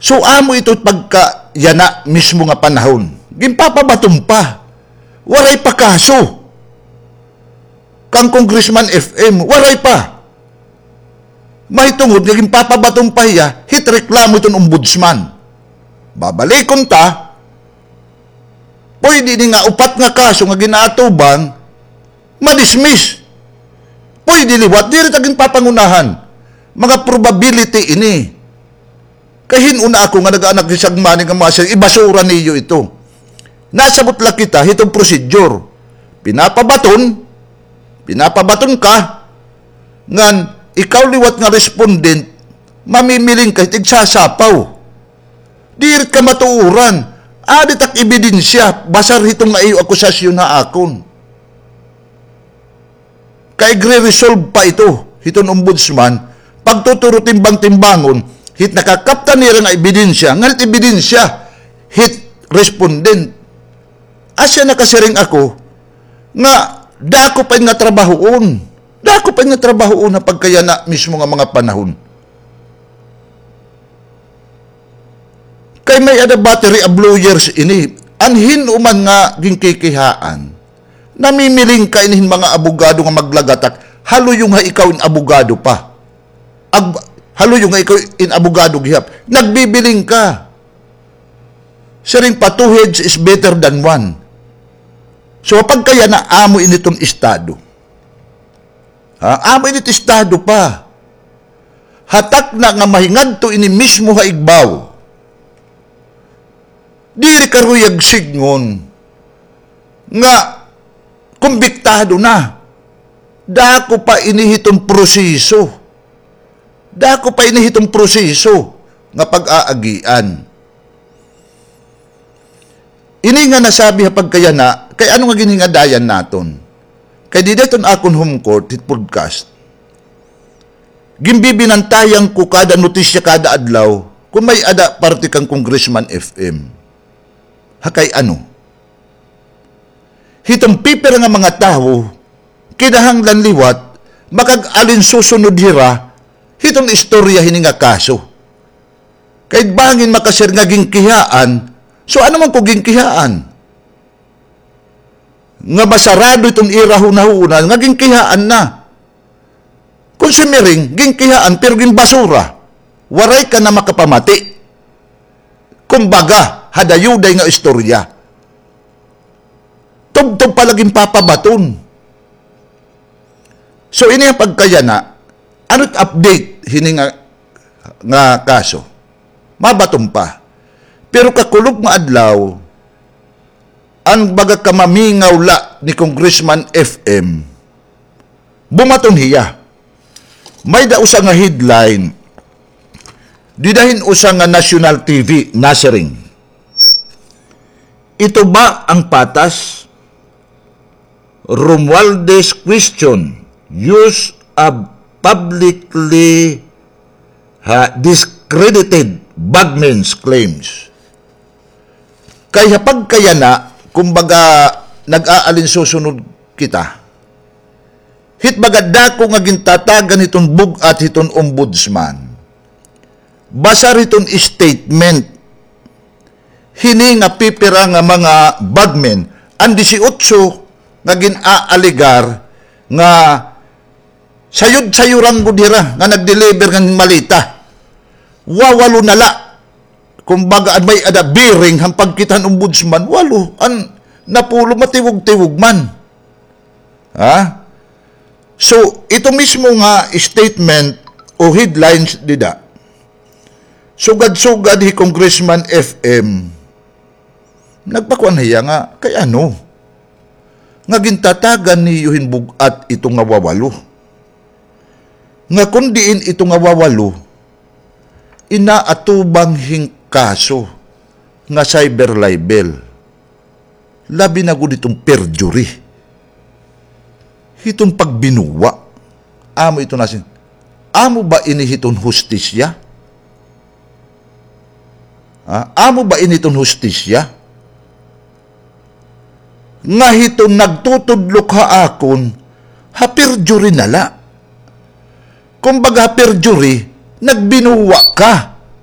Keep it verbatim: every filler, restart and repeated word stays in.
So, amo ito pagkayana mismo nga panahon. Ginpapabaton pa. Waray pa kaso. Kan Congressman F M, waray pa. Mahitungod nga ginpapabaton pa hiya, hit reklamo hiton ombudsman. Babalikon ta, pwede ini nga upat nga kaso nga ginaatubang, madismiss. Pwede liwat, diri ta ginpapangunahan. Mga probability ini. Kay hin-o na ako nga nag-aanak hin sagmani nga mga sir, ibasura niyo ito. Nasabot la kita, hitong procedure. Pinapabaton, pinapabaton ka, ngan ikaw liwat nga respondent, mamimiling ka, tigsasapaw. Diri ka matuoran. Adi tak ebidensya, basar hiton nga iyo akusasyon ha akon. Kay igre-resolve pa ito, hiton ombudsman, pagtuturo timbang-timbangon, hit nakakaptan nira nga ebidensya, ngan hit ebidensya, hit respondent. Asya nakasiring ako, nga dako pa ini nga trabahoon. Dako pa ini nga trabahoon ha pagkayana mismo nga mga panahon. Kay may-ada battery of lawyers ini. An hin-o man nga ginkikihaan, namimiling ka ini hin mga abogado nga maglagatak. Haluyong ha ikaw in abogado pa. Ag-, haluyong ha ikaw in abogado gihap. Nagbibiling ka. Siring pa, two heads is better than one. So, pagkayana, amo ini iton estado. Ha? Amo ini it estado pa. Ha takna nga mahingadto ini mismo ha igbaw. Diri karuyag sidngon nga kumbiktado na. Dako pa ini hiton proseso. Dako pa ini hiton proseso nga pag-aagian. Ini nga nasabi ha pagkayana, kay ano nga ginhingadayan naton? Kay dida hiton akon home court, hit podcast, ginbibinantayan ko kada notisya kada adlaw kon may-ada parte kan Congressman F M. Ha kay ano? Hiton pipira nga mga tawo, kinahanglan liwat, makag-alinsusunod hira, hiton istorya hini nga kaso. Kay bangin makasir nga ginkihaan, so ano man ko ginkihaan? Nga masarado iton ira hunahuna, nga ginkihaan na. Kon simiring, ginkihaan, pero ginbasura. Waray ka na makapamati. Kumbaga, hadayuday nga istorya. Tubtob pa la ginpapabaton. So, ini an pagkayana, ano it update hini nga, nga kaso? Mabaton pa. Pero kakulop nga adlaw, an baga kamamingaw la ni Congressman F M, bumaton hiya. May-ada usa nga headline, dida hin usa nga national T V, nasiring, "Ito ba ang patas?" Romualdez question, use of publicly, ha, discredited Bagmen's claims. Kay ha pagkayana, kumbaga, nag-aalinsusunod kita. Hit baga dako nga gintatagan hiton bug-at hiton ombudsman. Basar hiton statement hini nga pipira nga mga bagmen, an disiotso nga gin-aalegar nga sayod-sayoran gud hira nga nag-deliver ngan maleta. Wawalo na la. Kumbaga, an may-ada bearing han pagkita han ombudsman, walo. An napulo, matiwog-tiwog man. Ha? So, ito mismo nga statement o headlines dida, sugad-sugad hi Congressman F M, nagpakuan hiya nga, kay ano? Nga gintatagan niyo hin bug-at ito nga wawalo. Nga kon diin ito nga wawalo, inaatubang hin kaso nga cyber libel. Labi na gud hiton perjury. Hiton pagbinuwa. Amo ito nasin. Amo ba ini hiton hustisya? Ha? Amo ba ini hiton hustisya? Nga hiton nagtutudlok ha akon, ha perjury na la. Kumbaga, ha perjury, nagbinuwa ka.